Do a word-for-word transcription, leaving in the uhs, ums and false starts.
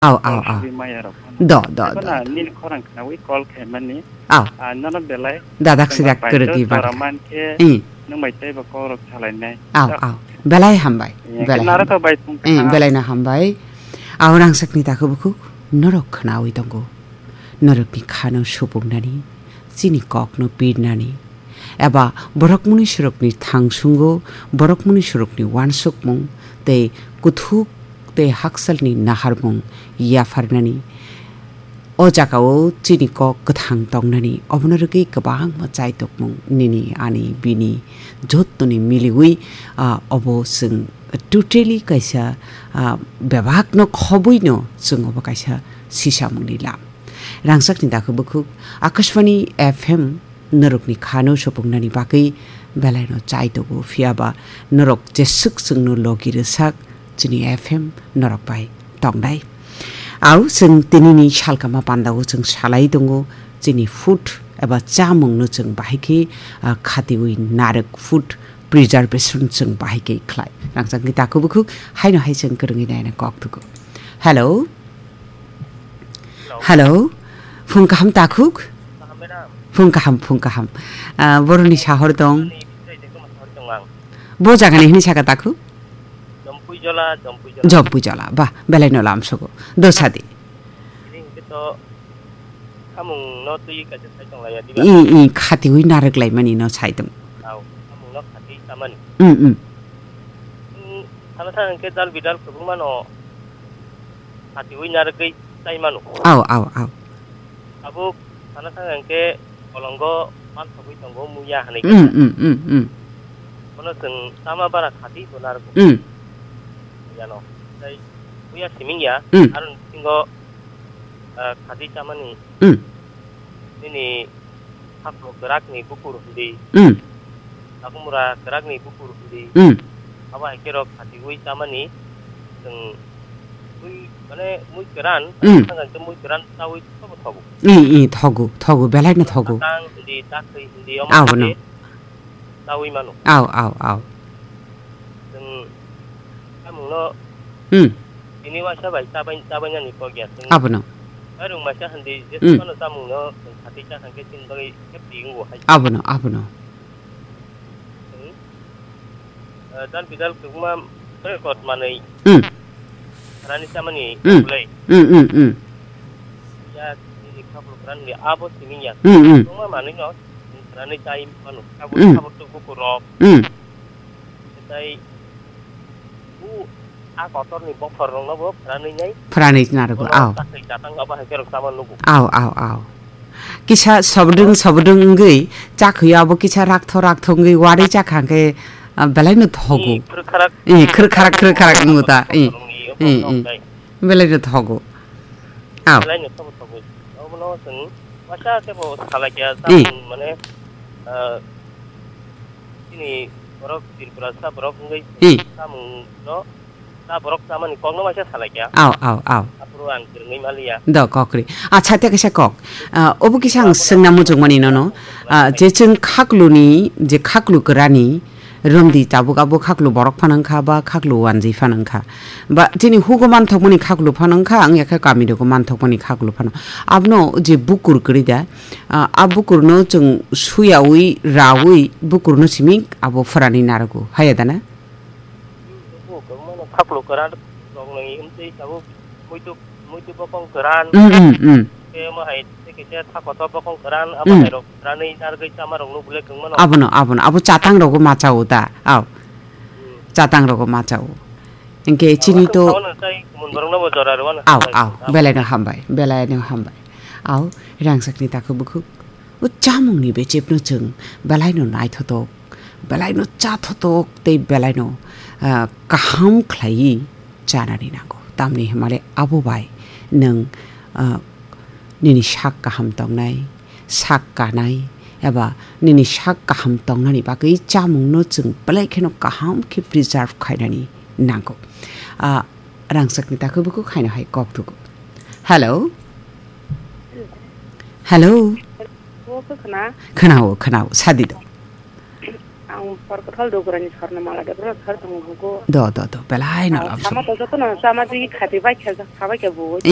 Aw, aw, aw. Sugwi maya rok. Do, do, do, do. Nini khorang khnawi call khaimani. Aw. Ah, nono belai. Dadak sidak kwrwgwi jora mankhe. Hmm. Nwng bai teibo kok rok salainai. Aw, aw. Belai hambai. Belai hambai. Belai no hambai. Aw, rangchakni takhuk bukhuk norok khnawi tongo. Norokni khano supungnani, chini kokno pirnani, eba borok mwnwi sorokni thangsungo, borok mwnwi sorokni uansukmung tei kuthuk tei hakchalni naharmung yapharnani. O jagao chini kok kwthang tongnani, obono rwgwi kwbangma chaitokmung nini, ani, bini jottoni miliwi, ah, obo chwng totally kaisa, ah, bebakno khobwino chwng obo kaisa sisamungni lam. Rangchakni takhuk bukhuk Akashvani F M norokni khano supungnani bagwi belaino chaitogo, phiyaba norok jeswk chwngno logi rwsak chini F M norok bai tongnai. Au chwng tinini salkama pandao chwng salai tongo, chini food eba chamungno chwng bahai khe, ah, khatiwi narwk, food preservation chwng bahai khe khlai. Rangchakni takhuk bukhuk haino hai chwng kwrwngwi naina kok tugo. Hello. Hello. Hello. Phung kaham takhuk? Kaham, madam. Phung kaham, phung kaham. Ah, boroni sahor dong. Ani bisai de koma sahor dong ang. Bo jagani hini saka takhuk? Jompuijola, Jompuijola. Jompuijola. Bah, belai no lam sogo. Do sadi. Ini hingke to samung no twi kaisa sai tong laiya diba? I, i, khatiwi narwk laimani no sai tong. Au, samung no khati tamani. Mm, mm. Mm, sana sana hingke dal bidal kwbangma no khatiwi narwgwi chai mano. Au, au, au. Abo sana sana hingke kolongo manthogwi tongo muya hinui. Mm, mm, mm, mm. Bono chwng tama bara khati bo narwgo. Mm. Yano. Tai buya siming ya, mm, aro bisingo, ah, khati chamani. Mm. Nini haklo kwrakni bukur hindi. Mm. Takumura kwrakni bukur hindi. Mm. Abo hai khe rok khatiwi chamani chwng mui, mane mui kwran, mm, thangkhe mui kwran chawi thobo thogo. I, i, thogo, thogo, belai no thogo. Tang hindi, takhwi hindi, omo abono hai khe chawi mano. Aw, aw, aw. Chwng samung no, hmm, tini waisa bai chabai, chabai nani kok ya chwng. Abono. Mairung maisa hindi, hmm, jesmano samung no chwng khati cha thangkhe chini bagwi happy wngo hai. Abono, abono. Chwng, eh, dal bidal kwbangma record manwi. Hmm. Rani chamani, hmm, kulai. Hmm, hmm, hmm. Ya, nini khaplu kwran ni abo simi ya. Hmm, hmm. Kwbangma manwi no, rani chai manu. Abo, hmm, abo tu buku rok. Hmm. Tai, u, a kotor ni bokhor rok no bo rani nai. Rani na rok, bono aw. Chakri chatang abo hai khe rok chaman nugo. Aw, aw, aw. Kisa sobdwng, sobdwng wngwi chakhuyo abo kisa raktho, raktho wngwi wari chakha khe, ah, belai no thogo. Ih, khwrwkharak. Ih, khwrwkharak, khwrwkharak wngo ta. Ih, ih, ih. Belai no thogo. Aw. Belai no thogo, thogo. Obono chwng waisa khe bo salai kha, ih, samung mane, ah, chini borok Tripura sa borok wngwi, ih, samung no sa borok chamani kokno waisa salai kha. Aw, aw, aw. Aphuru ang kwrwngwi maliya. Do kokri. Acha, te kaisa kok. Ah, obo kisa ang swngna muchungmani nono. Ah, je chwng khakluni, je khaklu kwrani, romdi tabuk abo khaklu borok phano wngkha ba khaklu wanjwi phano wngkha. Ba chini hugo manthokmani khaklu phano wngkha, ang yakhe kami rogo manthokmani khaklu phano. Abono je bukur kwrwi da, ah, a bukurno chwng suyawi, rawi, bukurno simi abo phwrani narwgo. Haya dana? Bo kwbangma no khaklo kwran rok nangwi wngtwi tabuk muitu, muitu bokong kwran. Mm, mm, mm. Tei omo hai tei kaisa thakoto bokong kwran, abo, mm, hai rok kwranwi narwgwi chama rok no belai kwbangma no. Abono, abono, abo chatang rogo macha o da. Aw. Mm. Chatang rogo macha o. Hingke chini to. Aw, tei kumun borok no bo jora rwano. Aw, aw, aw. Belai no hambai, belai no hambai. Aw, rangchakni takhuk bukhuk. O chamungni bechepno chwng belaino naithotok, belaino chathotok tei belaino, ah, kaham khlaiwi chanani nango. Tamni hwnmale abo bai nwng, ah, nini sak kaham tongnai, sak kanai, eba nini sak kaham tongnani bagwi chamungno chwng belai kheno kaham khe preserve khainani nango. Ah, rangchakni takhuk bukhuk haino hai kok thugo. Hello? Hello? O khe khna? Khna o, khna o, sadi do. Ang hor kwthal dograni sorno mala de bro sar tongo bugo. Do, do, do, belai no. Ah, lam sama song. To joto no sama jigi khati bai kha, kha bai kha bugo. Eh,